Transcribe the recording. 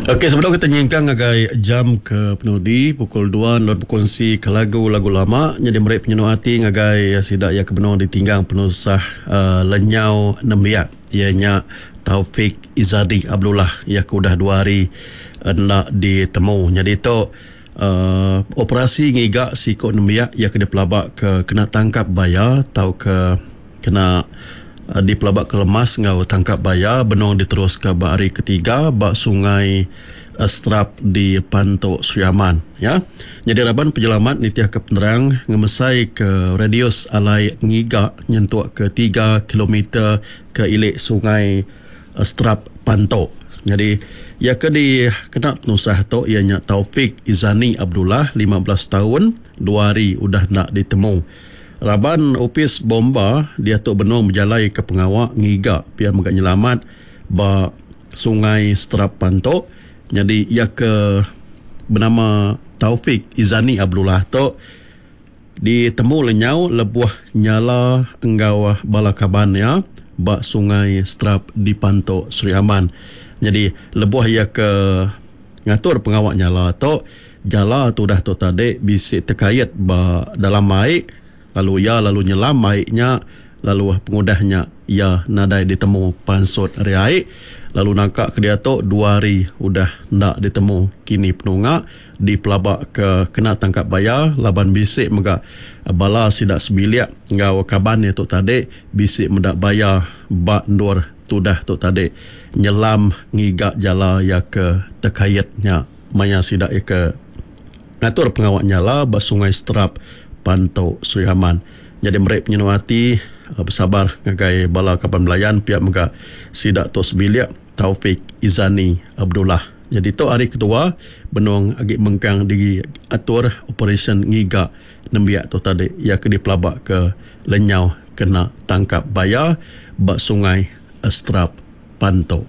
Okey sebedau kita nyingkang ngagai jam ke penudi pukul dua endur bekunsi ke lagu-lagu lama nyadi meri penyenu ati ngagai sida iya ke benung ditinggang penusah uhh lenyau nembiak iya nya Taufik Izadi Abdullah iya ke udah dua hari enda ditemu. Nyadi tu uhh operasi ngiga siku nembiak iya ke dipelaba ke kena tangkap baya tauka Kena dipelaba ke lemas enggau tangkap baya benung diteruska ba hari ketiga ba Sungai Strap di Pantu Sri Aman. Ya. Nyadi raban penyelamat nitihka penerang ngemesaika radius alai ngiga nyentuk ke tiga kilometer ke ili Sungai Strap Pantu. Nyadi iya ke dikena penusah tu iya nya Taufik Izani Abdullah 15 taun dua hari udah enda ditemu. Raban opis bomba diatu benung bejalaika pengawa ngiga pia mega nyelamat ba Sungai Serapan tu nyadi iya ke benama Taufik Izani Abdullah tu ditemu lenyau lebuh nyala enggau bala kaban iya ba Sungai Serap di Pantu Sri Aman. Nyadi lebuh iya ke ngatur pengawa nyala tu Jala tudah tu tadi bisi tekait ba dalam ai lalu iya lalu nyelam ai nya lalu pengudah nya iya nadai ditemu pansut ari ai lalu nangka ke diatu dua hari udah enda ditemu kini penunga dipelaba ke kena tangkap baya laban bisi mega bala sida sebilik enggau kaban iya tu tadi bisi meda baya ba endur tudah tu tadi nyelam ngiga jala iya ke tekait nya. Maya sida iya ke ngatur pengawa nyala ba Sungai Seterap, Pantu, Sri Aman. Nyadi meri penyenu ati besabar ngagai bala kaban belayan pia mega sida tu sebilik Taufik Izani Abdullah. Nyadi tu hari kedua benung agi mengkang diatur operasyen ngiga nembiak tu tadi iya ke dipelaba ke lenyau kena tangkap baya ba Sungai Seterap, Pantu.